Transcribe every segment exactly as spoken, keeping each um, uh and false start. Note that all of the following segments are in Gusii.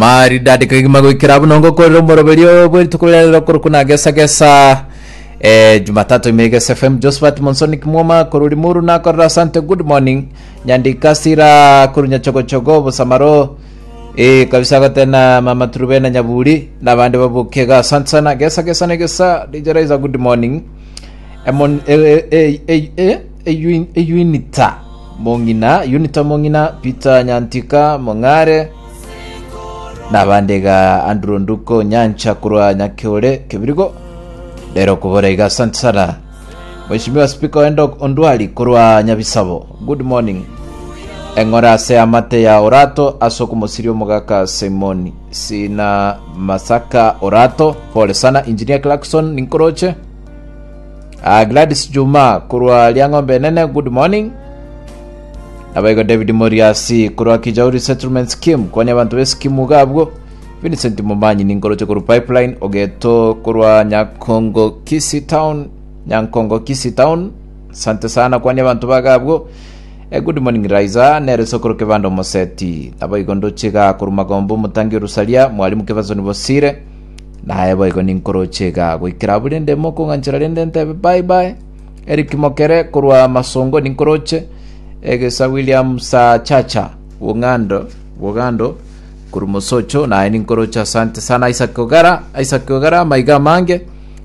Maridadi kegima goikera buna ngokorera omoroberio bwerituko riria rero korokwa na gesa gesa eh, Jumatatu ime Gesa F M. Josephat Monsoni Kimwoma korwa Limuru nakorera asante. Good morning Nyandika Sira korwa Nyachogochogo Bosamaro, eh, kabisa gotena Mama Turubena Nyaburi nabande baboke iga, asante sana. Gesa gesa na gesa D J Raiza, good morning. Emon, eh, eh, eh, eh, eh, Eyunita Mong'ina, Unita Mong'ina, Peter Nyantika Mong'are nabande iga, Andrew Nduko Nyancha korwa Nyakeore Kebirigo rero okobora iga, asante sana. Mheshimiwa Speaker Endok Ondwari korwa Nyabisabo, good morning. Eng'ora ase amate ya Orato ase okomosiria omogaka Simon Sina Masaka Orato, pole sana. Engineer Clarkson ninkoroche. Ah, Gladys Juma korwa Liang'ombe Enene, good morning. Nabaigo David Moriasi korwa Kijauri Settlement Scheme, kwani abanto b'eskimu iga abwo. Vincent Momanyi ninkoroche korwa Pipeline. Ogeto korwa Nyakongo Kisii Town, Nyankongo Kisii Town, asante sana, kwani abanto baga abwo. Eh, good morning Raiza, nere sokoro Kebanda Omoseti. Naboigo ndoche iga korwa Magombo omotangi Orusaria, mwalimu Kebasoni Bosire. Naye boigo ninkoroche iga goikera abwo rende mokong'anchera rende ntebe bye bye. Eric Mokere korwa Masongo ninkoroche. Egesa William Sachacha Bong'ando Bogando korwa Mosocho naye ninkoroche, asante sana. Isaac Ogara, Isaac Ogara, amaiga amange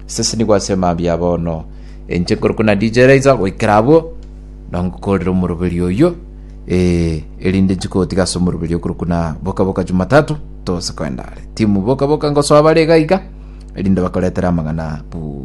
sese ase mambia bono. Inche nkorokwa na D J Raiza goikera abwo nongokorera omoroberi oyo, eh, erinde nchikotiga ase omoroberi okorokwa na boka boka Jumatatu tose koenda are timu boka boka ngosoa bare iga iga erinde bakoretera amang'ana bu.